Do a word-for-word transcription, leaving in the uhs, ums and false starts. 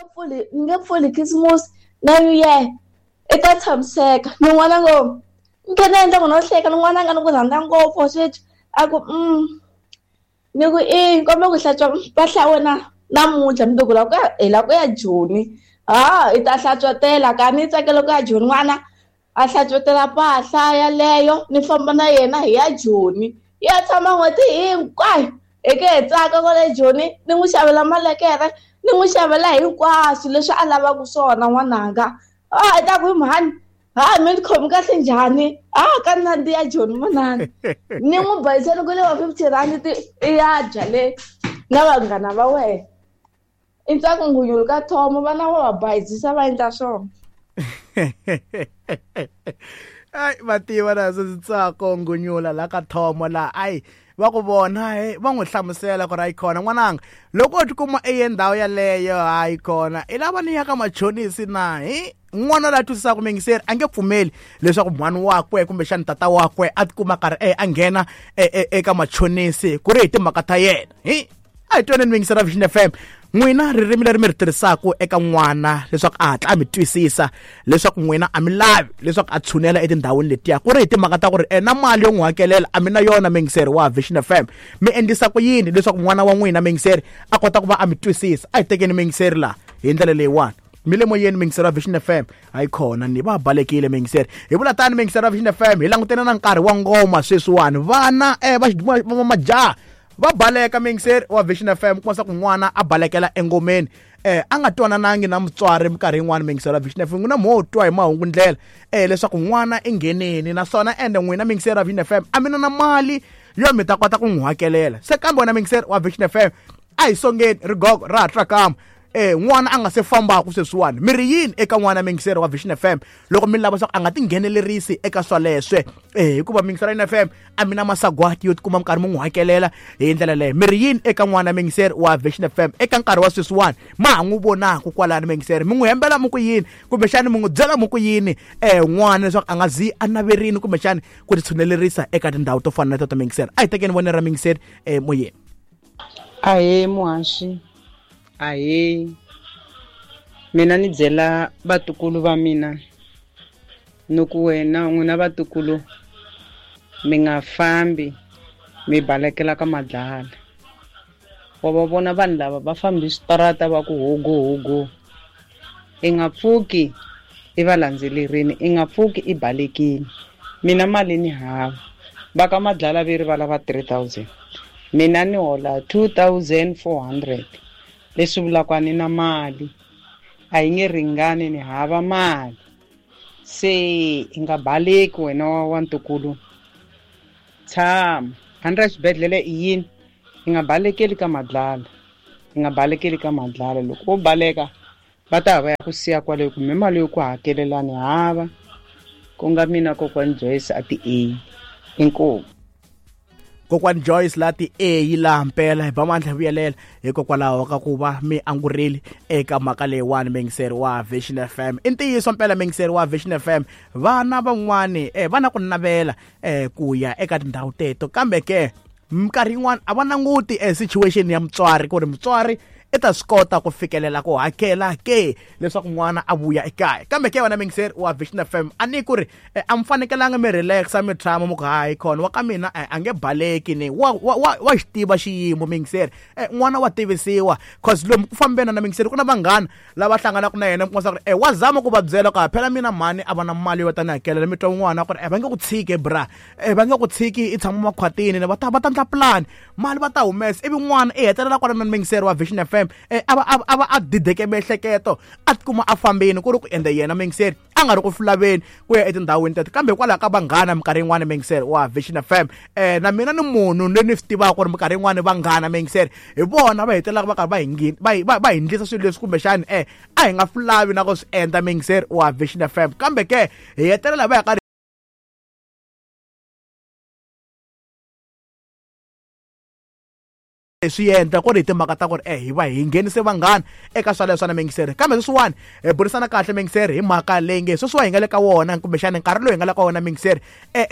Pfuli ni nge pfuli Christmas na New Year i ta tshamiseka. Ni n'wana ngo ni khe ni endla ku no hleka ni n'wana nga ni ku rhandza ngopfu sweswi a ku mm ni ku i kombe ku hlantswa mpahla ya wena namuntlha mundzuku la ku ya hi la ku ya Joni ha i ta hlantswetela ka ni tsakela ku ya Joni n'wana a hlantswetela mpahla yaleyo ni famba na yena hi ya Joni ya tshama n'hweti hinkwayo hi ke hi tsaka kwale Joni ni n'wi xavela malekere ni n'wi xavela hinkwaswo leswi a lavaka swona n'wananga a i ta ku hi mhani ha mi ni khomi kahle njhani a ka nandziha Joni manana ni n'wi bayiseni ku le wa fifty rand ti i ya dya le na vanghana va wena i ntsako ngunyulu ka thomo vana va va bayizisa va endla swona. Ai va tiva na swi ntsako ngunyula la ka thomo la ai va ku vona he va n'wi hlamusela ku ri ayi khona n'wananga loko u tikuma i ye ndhawu yaleyo hayi khona i lava ni ya ka machonisi na hi n'wana la twisisaka mingiseri a nge pfumeli leswaku mhani wakwe kumbexani tata wakwe a tikuma karhi e a nghena eka machonisi ku ri hi timhaka ta yena hi a hi twaneni mingiseri ra Vision F M n'wina ririmi leri mi ri tirhisaka eka n'wana leswaku a hatla a mi twisisa leswaku n'wina a mi lavi leswaku a tshunela etindhawini letiya ku ri hi timhaka ta ku ri na mali yo n'wi hakelela a mi na yona mingiseri wa Vision F M mi endlisa ku yini leswaku n'wana wa n'wina mingiseri a kota ku va a mi twisisa a hi tekeni mingiseri laha hi ndlela leyiwani mi le moyeni mingiseri wa Vision F M hayi khona ni va balekile mingiseri hi vula tani mingiseri wa Vision F M hi langutene na nkarhi wa ngoma sweswiwani vana eh va majaha va baleka mingiseri wa Vision F M kuma ku n'wana a balekela engomeni eh a nga twananangi na mutswari minkarhi yin'wana mingiseri wa Vision F M n'wina mo twa hi mahungu ndlela eh leswaku n'wana i ngheneni naswona ende n'wina mingiseri wa Vision F M a mi na na mali yo mi ta kota ku n'wi hakelela se kambe wena mingiseri wa Vision F M a hi songeni rigogo ra ha trakama eh n'wana a nga se fambaka sweswiwani mi ri yini eka n'wana mingiseri wa Vision F M loko mi lava leswaku a nga tinghenelerisi eka swaleswe eh hikuva mingiseri wa F M a mi na masagwati yo tikuma minkarhi mi n'wi hakelela hi ndlela leyo mi ri yini eka n'wana mingiseri wa Vision F M eka nkarhi wa sweswiwani ma ha n'wi vonaka kwalani mingiseri mi n'wi hembela mi ku yini kumbexani mi n'wi byela mi ku yini eh n'wana leswaku a nga zi a naverini kumbexani ku ti tshunelerisa eka tindhawu to fana na teto mingiseri a hi tekeni vonelo ra mingiseri eh moyeni. Ahee muhaxi ahee mina ni byela vatukulu va mina ni ku wena n'wina vatukulu mi nga fambi mi balekela ka madlala wa va vona vanhu lava va fambi switarata va ku hogo hogo i nga pfuki i va landzelerini i nga pfuki i balekile mina mali ni hava va ka madlala ve ri va lava three thousand mina ni hola two thousand four hundred leswi vulaka ni na mali a yi nge ringani ni hava mali se i nga baleki wena wa wa ntukulu tshama a ni ra xibedhlele i yini i nga balekeli ka madlala i nga balekeli ka madlala loko wo baleka va ta va ya ku siya kwale kumbe mali yo ku hakelela ni hava ku nga mina kokwani Joyce a ti A inkomu. Kokwani Joyce la ti A yi laha mpela hi ba mandla vuyelela hikokwalaho ka ku va mi angurile eka mhaka leyiwani mingiseri wa Vision F M i ntiyiso mpela mingiseri wa Vision F M vana van'wani eh va na ku navela eh ku ya eka tindhawu teto kambe ke minkarhi yin'wana a va languti eh situation ya mutswari ku ri mutswari i ta swi kota ku fikelela ku hakela ke leswaku n'wana a vuya ekaya kambe ke wena mingiseri wa Vision F M a ni ku ri a mi fanekelanga mi relaxa mi tshama mi ku hayi khona wa ka mina a nge baleki ni wa wa wa xi tiva xiyimo mingiseri n'wana wa tivisiwa cause lomu ku fambeni na mingiseri ku na vanghana lava hlanganaka na yena mi kuma ku ri wa zama ku va byela ku phela mina mhani a va na mali yo ta ni hakelela mi twa n'wana ku ri va nge ku tshiki bra va nge ku tshiki i tshama makhwatini va ta va ta endla plan mali va ta humesa ivi n'wana i hetelela kwala na mingiseri wa Vision F M eh ava ava a dideke miehleketo a tikuma a fambini ku ri ku endla yena mingiseri a nga ri ku fulaveni ku ya etindhawini teto kambe hikwalaho ka vanghana minkarhi yin'wana mingiseri wa Vision F M eh na mina ni munhu loyi ni swi tivaka ku ri minkarhi yin'wana vanghana mingiseri hi vona va hetelelaka va karhi va hi va va hi endlisa swilo leswi kumbexani eh a hi nga fulavi na ku swi endla mingiseri wa Vision F M kambe ke hi hetelela va ya karhi swi endla ku ri hi timhaka ta ku ri eh hi va hi nghenise vanghana eka swaleswo na mingiseri kambe sweswiwani hi burisana kahle mingiseri hi mhaka leyi nge sweswiwa hi nga le ka wona kumbexani nkarhi lowu hi nga le ka wona mingiseri eh